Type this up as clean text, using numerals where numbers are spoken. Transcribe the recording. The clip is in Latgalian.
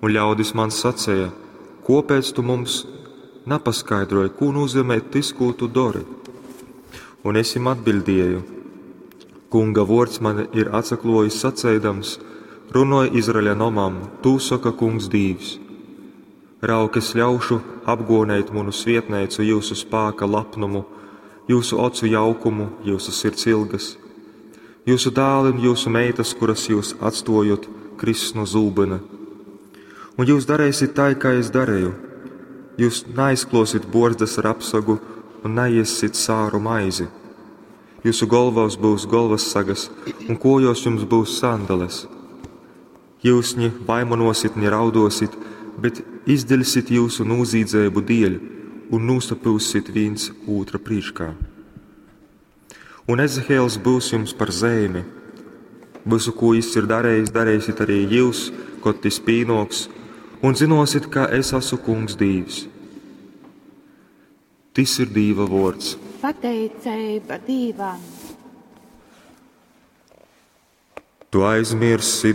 Un ļaudis man saceja: Kōpēc tu mums napaskaidroj, kū nūzeimej tys, kū tu dori? Un es jim atbiļdēju: Kunga vōrds man ir atsaklōjis saceidams: Runoj Izraeļa nomam, tū soka Kungs Dīvs. Raug, es ļaušu apgōneit munu svētneicu jyusu spāka lapnumu, jyusu ocu jaukumu, jyusu sirds ilgas. Jyusu dāli un jyusu meitas, kuras jyus atstōjot, kriss nu zūbyna. Un jyus dareisit tai, kai es dareju. Jyus naaizklōsit bōrzdas ar apsagu un naēssit sāru maizi. Jyusu golvōs byus golvassagas un kōjōs jums byus sandales. Jyus ni vaimanōsit, ni raudōsit, bet izdiļsit jyusu nūzīdzeibu dēļ un nūsapyussit vīns ūtra prīškā. Un Ezehiels byus jums par zeimi. Vysu, kū jys ir darejis, dareisit arī jyus, kod tys pīnōks, un zynōsit, ka es asu Kungs Dīvs. Tys ir Dīva vōrds. Pateiceiba Dīvam. Tu aizmirssi.